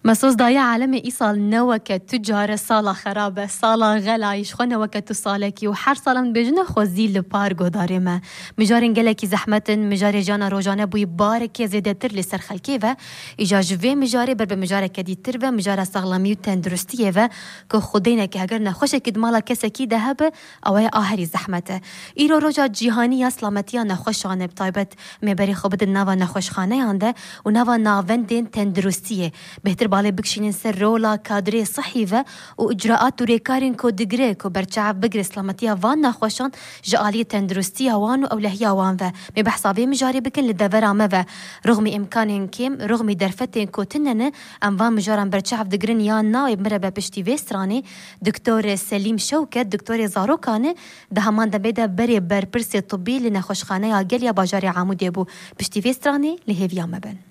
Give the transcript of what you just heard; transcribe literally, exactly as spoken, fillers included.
Mesos daye alemê îsal ne weke tu care sala xerab e, sala xelayî ji xwe ne weke tu salekî û her sal em dibêjine xwezî li par godarê me. Mijarên gelekî zehmet in, mijarê jiyana rojane bûyî barekê zêdetir li ser xelkê ve. Îja ji vê mijarê ber bi mijareke dîtir ve, mijara saxlemî û tenduristiyê ve ku xwedêneke heger nexweşekî di mala kesekî de hebe, ew ê aherî zehmet e. Îro roja cîhanî ya silametiya nexweşan e, bi taybet Em ê berê xwe bidin nava nexweşxaneyan de û nava navendên tenduristiyê. Bêhtir balê bikişînin ser rola kadrê sihî ve û icraat û rêkarên ku digire ku berçav bigire silametiya van nexweşan ji aliyê tenduristiya wan û ewlehiya wan ve. Mê behsa vê mijarê bikin li devera me ve. Ruxmî îmkanên kêm, ruxmî derfetên ku tune ne, em van mijaran berçav digirin yan na, wê mirebe piştî vê stranê. Doktor Selîm Şewket, doktorê zarokan e, di heman demê de berê berpirsê tibî li nexweşxaneya Gel ya bajarê Amûdê bû. Piştî vê stranê li hêviya me bin.